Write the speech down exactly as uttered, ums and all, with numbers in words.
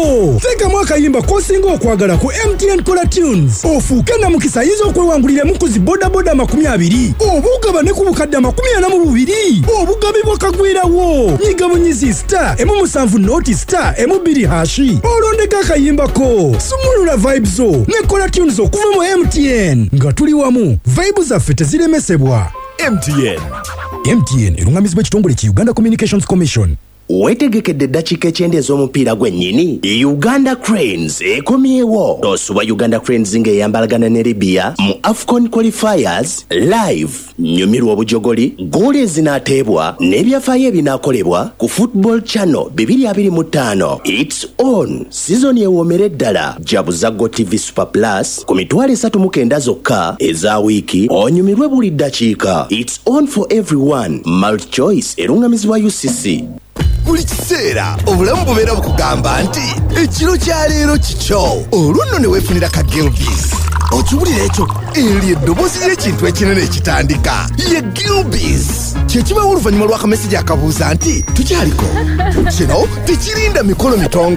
Sebo, teekamu akayimba k'osinga okwagala ku M T N Kola Tunes, ofuuke namukisa ayinza okwewangulira ku zi bodaboda amakumi abiri oba ogabane ku bukadde amakumi ana mu bubiri obugabibwa kagwirawo. Nyiga bunyizi star emu musanvu nought star emu bbiri hash, olondeko akayimbako. Sumulula vibe zo ne Kola Tunes okuva mu M T N. Nga tuli wamu, vibe zaffe teziremesebwa. M T N. M T N erungamizibwa ekitongole ki Uganda Communications Commission. Weetegekedde eddakiika ekyenda ez'omupiira gwennyini? Uganda Cranes ekomyewo. Tosubwa Uganda Cranes ng'eyambalagana ne Libya mu AFCON qualifiers live. Nyumirwa obujogoli, goolo ezinaateebwa n'ebyafaayo ebinaakolebwa ku Football Channel twenty twenty-five. It's on. Sizoni ewoomere ddala. Jabuza GOtv Super Plus ku mitwalo esatu mu kenda zokka eza wiiki, onyumirwe buli ddakiika. It's on for everyone. MultiChoice erungamizibwa U C C. Buli kiseera obulamu bubeera bukugamba nti ekiro kya leero kikyo. Olwo nno ne weefunira ka Gilbis. Okiwulira ekyo? Eryo eddoboozi ly'ekintu ekinene ekitandika ye Gilbis. Kyekibawo oluvannyuma lw'akamesegi akabuuza nti tukyaliko. Kino tekirinda mikolo mitongo.